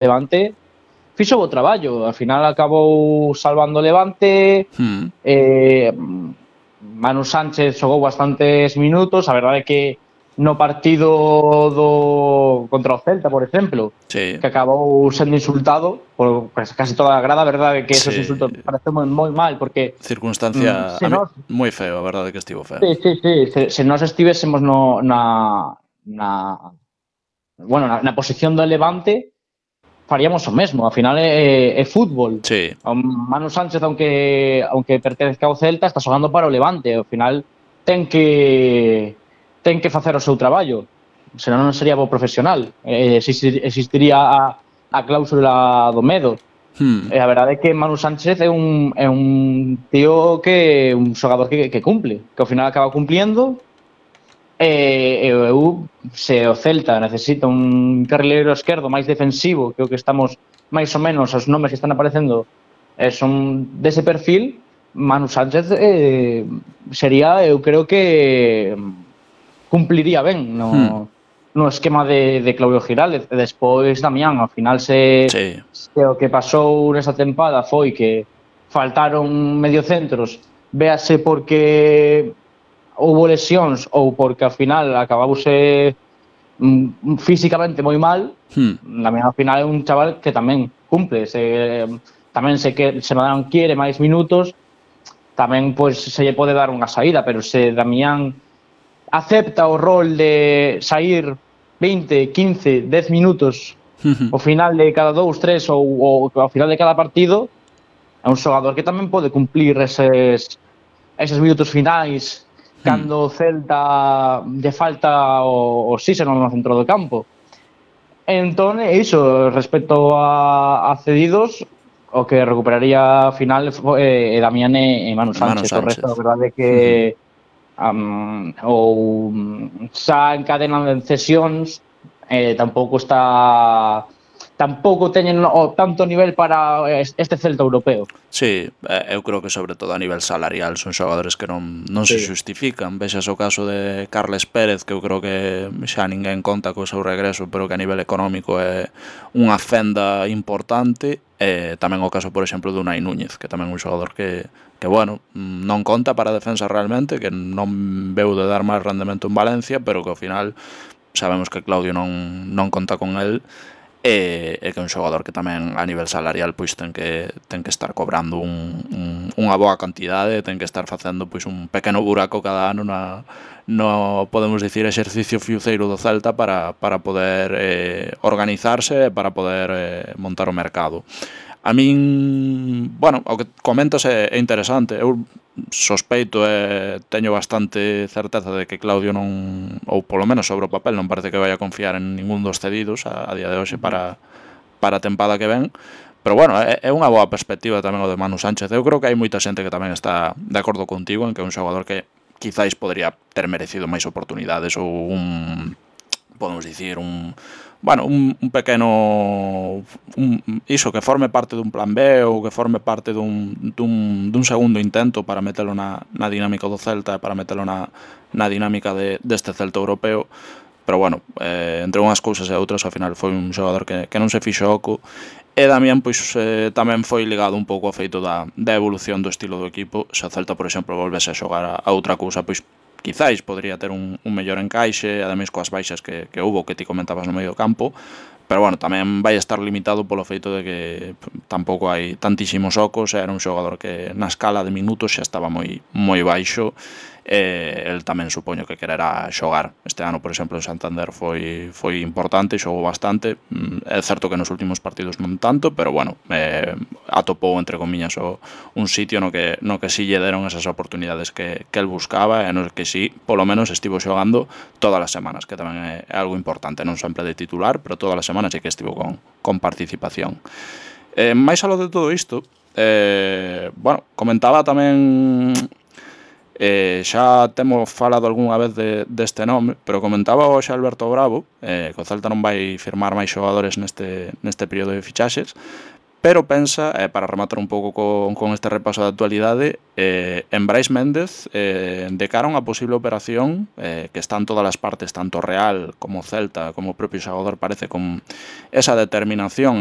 Levante fixo bo traballo, ao final acabou salvando o Levante. Manu Sánchez xogou bastantes minutos, a verdade é que no partido contra o Celta, por exemplo, sí, que acabou sendo insultado por casi toda a grada, a verdade é que esos sí, insultos parece moi mal, porque circunstancia se a mí, nós moi feo, a verdade que estivo feo. se nós estivésemos na posición do Levante, faríamos o mesmo, ao final é fútbol. Sí, Manu Sánchez, aunque pertenzca ao Celta, está xogando para o Levante, ao final ten que facer o seu traballo, senón non sería bo profesional. Existiría a cláusula do medo. E a verdade é que Manu Sánchez é un tío un xogador que cumple, que ao final acaba cumpliendo. Eu, se o Celta necesita un carrileiro esquerdo máis defensivo, que o que estamos máis ou menos, os nomes que están aparecendo son dese perfil, Manu Sánchez sería, eu creo que cumpliría ben no esquema de Claudio Giraldez. E despois Damián, ao final se o que pasou nesa tempada foi que faltaron mediocentros, véase porque houbo lesións ou porque ao final acabouse físicamente moi mal. Damián ao final é un chaval que tamén cumple, tamén se Madán quiere máis minutos, tamén pois se lle pode dar unha saída, pero se Damián acepta o rol de sair 20, 15, 10 minutos ao final de cada 2, 3 ou ao final de cada partido, é un xogador que tamén pode cumplir eses minutos finais cando o Celta lle falta o oxígeno no centro do campo. Entón, iso, respecto a cedidos, o que recuperaría ao final é Damián e Manu Sánchez. O resto, a verdade é que ou xa encadenan cesións, tampouco teñen o tanto nivel para este Celta europeo. Sí, eu creo que sobre todo a nivel salarial son xogadores que non se xustifican. Vexas o caso de Carles Pérez, que eu creo que xa ninguén conta co seu regreso, pero que a nivel económico é unha fenda importante. Tamén o caso, por exemplo, de Unai Núñez, que tamén é un xogador que bueno, non conta para a defensa realmente, que non veu de dar máis rendemento en Valencia, pero que ao final sabemos que Claudio non conta con el. E que é un xogador que tamén a nivel salarial pois ten que estar cobrando unha boa cantidade, ten que estar facendo pois un pequeno buraco cada ano no podemos dicir exercicio fiuceiro do Celta para poder organizarse e para poder montar o mercado. A min, bueno, o que comentas é interesante. Eu sospeito e teño bastante certeza de que Claudio non, ou polo menos sobre o papel, non parece que vai a confiar en ningún dos cedidos a día de hoxe para a tempada que ven. Pero bueno, é unha boa perspectiva tamén o de Manu Sánchez. Eu creo que hai moita xente que tamén está de acordo contigo en que é un xogador que quizáis podría ter merecido máis oportunidades ou podemos dicir, un pequeno iso que forme parte dun plan B ou que forme parte dun segundo intento para metelo na dinámica do Celta e para metelo na dinámica deste Celta europeo. Pero bueno, entre unhas cousas e outras, ao final foi un xogador que non se fixo oco. E Damián pois tamén foi ligado un pouco ao feito da evolución do estilo do equipo. Se o Celta, por exemplo, volvese a xogar a outra cousa, pois quizáis podría ter un mellor encaixe, ademais coas baixas que houbo, que ti comentabas no medio campo. Pero bueno, tamén vai estar limitado polo feito de que tampouco hai tantísimos ocos. Era un xogador que na escala de minutos xa estaba moi baixo. El tamén supoño que quererá xogar. Este ano, por exemplo, en Santander foi importante, xogou bastante. É certo que nos últimos partidos non tanto, pero bueno, atopou entre comillas un sitio no que si lle deron esas oportunidades que el buscaba e no que si, polo menos, estivo xogando todas as semanas, que tamén é algo importante, non sempre de titular, pero todas as semanas sí que estivo con participación. Mais aló de todo isto, bueno, comentaba tamén, xa temos falado algunha vez deste nome, pero comentaba hoxe Alberto Bravo que o Celta non vai firmar máis xogadores neste período de fichaxes, pero pensa, para rematar un pouco con este repaso da actualidade, en Brais Méndez, de cara a unha posible operación, que está en todas as partes, tanto Real como Celta, como o propio xogador, parece con esa determinación